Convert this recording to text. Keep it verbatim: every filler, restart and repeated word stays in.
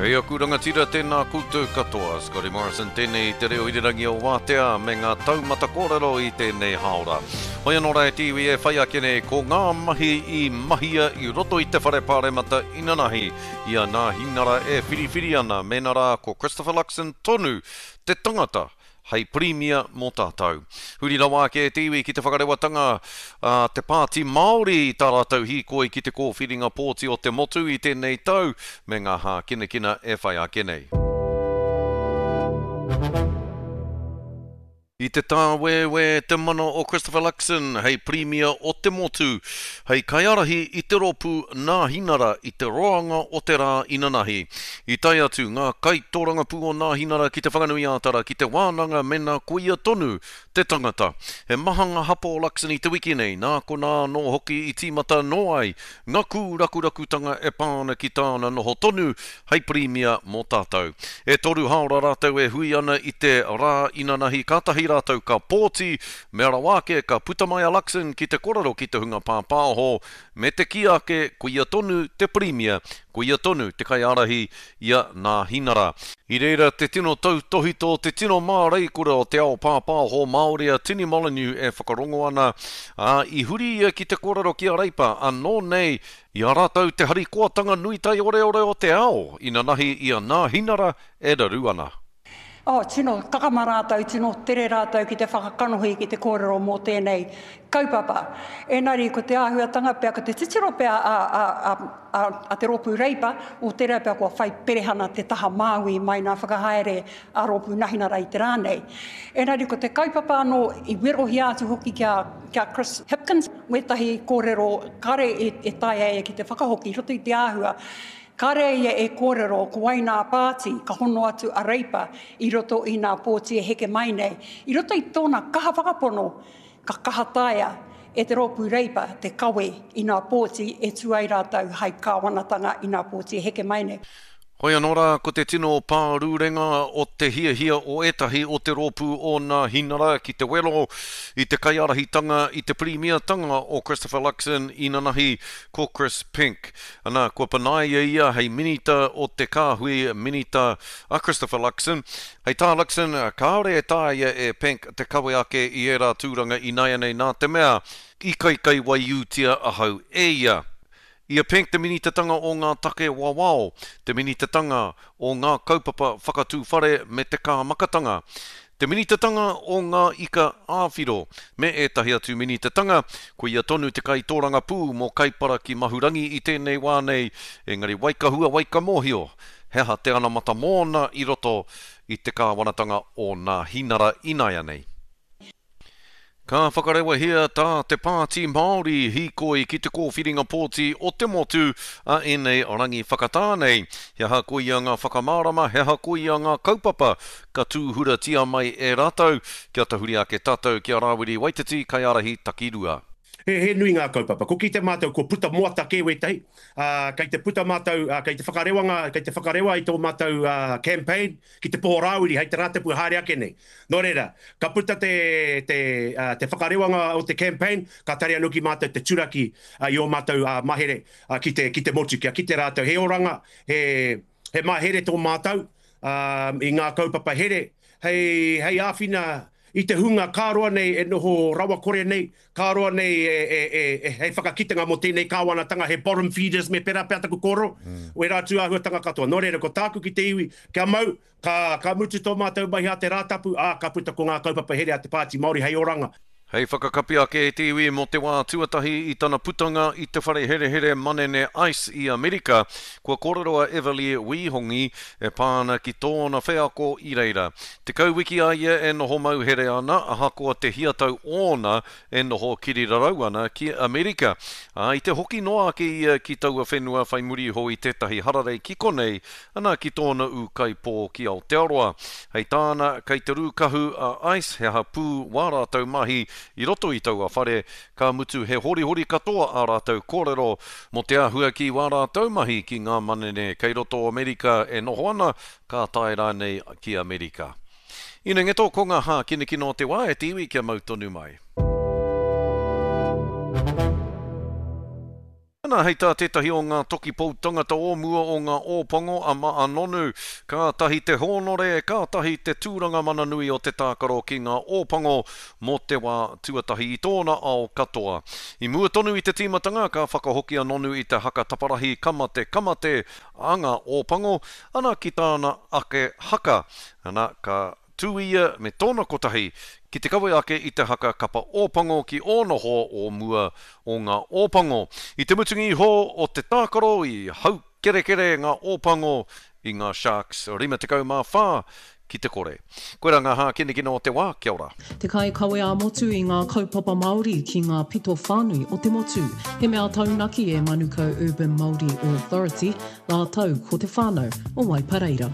Kei aku rangatira tēnā koutou katoa. Scotty Morrison tēnei i te reo irirangi o Wātea me ngā taumata kōrero i tēnei hāora. Hoi anō rā e te iwi e whai ake nei ko ngā mahi i mahia i roto i te whare pāremata inanahi i a Nāhinara e whiriwhiri ana mēnā rā ko Christopher Luxon tonu te tangata hei pirimia mō tātou. Huri rawa ake e te iwi ki te whakarewatanga a te Pāti Māori i tā rātou hīkoi ki te kōwhiringa pōti o te motu i tēnei tau me ngā hākinakina e whai ake nei. I te tāwēwē te mana o Christopher Luxon hei pirimia o te motu, hei kaiārahi i te rōpū Nāhinara i te roanga o te rā inanahi. I tae atu ngā kaitōrangapū o Nāhinara ki te Whanganui-ā-Tara ki te wānanga mēnā koia tonu te tangata. He maha ngā hapa o Luxon i te wiki nei, nā konā anō hoki i tīmata anō ai ngā kūrakurakutanga e pā ana ki tāna noho tonu hei pirimia mō tātou. E toru hāora rātou e hui ana i te rā inanahi kātahi rātou ka pōti, mea rawa ake ka puta mai a Luxon ki te korero ki te hunga pāpāho, me te kī ake koia tonu te pirimia, koia tonu te kaiārahi i a Nāhinara. I reira te tino tautohito, te tino māreikura o te ao pāpāho Māori a Tini Molyneux e whakarongo ana, ā, i huri ia ki te kōrero ki a Reipa, anō nei i a rātou te harikoatanga nui taioreore o te ao, inanahi i a Nāhinara e raru ana. Oh, tino kakama rātou, tino tere rātou ki te whakakanohi, ki te kōrero mō tēnei kaupapa. Engari ko te āhuatanga pea, ko te titiro pea a, a, a, a, a te rōpū Reipa, o tērā pea kua whai perehana te taha Māui mai nā whakahaere a rōpū Nahinara i te rā nei. Engari ko te kaupapa anō i werohia atu hoki ki a, ki a Chris Hipkins, wētahi kōrero kare e, e taea e ki te whakahoki i roto i te āhua. Kāre ia e kōrero ko wai nā pāti ka hono atu a Reipa i roto i nā pōti e heke mai nei. I roto i tōna kaha whakapono, ka kaha taea e te rōpū Reipa te kawe i nā pōti e tū ai rātou hai kāwanatanga i nā pōti e heke mai nei. Hoi anō rā, ko te tino pārurenga o te hiahia o ētahi o te rōpū o Nāhinara ki te wero i te kaiārahitanga i te pirimiatanga o Christopher Luxon inanahi ko Chris Penk. Ana, kua panaia ia hei minita o te kāhui minita a Christopher Luxon. Hei tā Luxon, kāore e taea e Penk te kawe ake i ērā tūranga ināianei nā te mea i kaikaiwaiūtia ahau e ia. I a Penk te minitatanga o ngā take wawao, te minitatanga o ngā kaupapa whakatū whare me te kāmakatanga, te minitatanga o ngā ika āwhiro, me ētahi atu minitatanga, ko ia tonu te kaitōrangapū mō Kaipara ki Mahurangi i tēnei wā nei, engari waikahua waikamōhio, he aha te anamata mōna i roto i te kāwanatanga o Nāhinara ināianei. Ka whakarewahia tā te Pāti Māori hīkoi ki te kōwhiringa pōti o te motu a ēnei rangi whakatā nei. He aha koia ngā whakamārama, he aha koia ngā kaupapa ka tūhuratia mai e rātou. Kia tahuri ake tātou ki a Rāwiri Waititi, kaiārahi takirua. He, he nui ngā kaupapa. Ko kite mātou kua puta moata kē wētahi, uh, kei te puta mātou, uh, kei te whakarewanga, kei te whakarewa i tō mātou uh, campaign ki te poho Rāwiri hei te Rātapu haere ake nei. Nō reira, ka puta te, te, uh, te whakarewanga o te campaign, ka tari anō ki mātou te turaki uh, i ō mātou uh, mahere uh, ki, te, ki te motu, kia kite rātou he oranga, he, he mahere tō mātou uh, i ngā kaupapa here, hei, hei āwhina i te hunga kāroa nei e noho rawakore nei, kāroa nei e, e, e, e, hei whakakitenga mō tēnei kāwanatanga, he bottom feeders me pērā pea taku kōrero, mm. wērā atu āhuatanga katoa. Nō reira, ko tāku ki te iwi, kia mau, ka, ka mutu tō mātou mahi a te Rātapu, ā, ka puta ko ngā kaupapa here a te Pāti Māori hei oranga. Hei whakakapi ake e te iwi mō te wā tuatahi i tana putanga i te whare herehere manene ICE i Amerika, kua kōrero a Everly Wihongi e pā ana ki tōna wheako i reira. Tekau wiki a ia e noho mauhere ana, ahakoa te hiatau ōna e noho kirirarau ana ki Amerika. Ā, i te hoki noa ake ia ki taua whenua whai muri iho i tētahi hararei ki konei, ana ki tōna ūkaipō ki Aotearoa. Hei tāna, kei te rūkahu a ICE he aha pū wā rātou mahi i roto i taua whare, ka mutu he horihori katoa ā rātou kōrero mō te āhua ki wā rātou mahi ki ngā manene kei roto o Amerika e noho ana, ka tae rānei ki Amerika. Inengeto ko ngā hākinakina o te wā e te iwi kia mau tonu mai. Ana, hei tā tētahi o ngā toki pou tangata o mua o ngā Ōpango a Ma'a Nonu, kātahi te hōnore, kātahi te tūranga mana nui o te tākaro ki ngā Ōpango mō te wā tuatahi i tōna ao katoa. I mua tonu i te tīmatanga, ka whakahoki a Nonu i te haka taparahi Ka mate, ka mate a ngā Ōpango, ana ki tāna ake haka, ana, ka tū ia me tōna kotahi ki te kawe ake i te haka Kapa Ōpango ki ōna hoa o mua o ngā Ōpango. I te mutunga iho o te tākaro i haukerekere ngā Ōpango i ngā Sharks rima tekau mā whā ki te kore. Koirā ngā hākinakina o te wā, kia ora. Te kaikawe ā-motu i ngā kaupapa Māori ki ngā pito whānui o te motu. He mea taunaki e Manukau Urban Māori Authority rātou ko te whānau o Waipareira.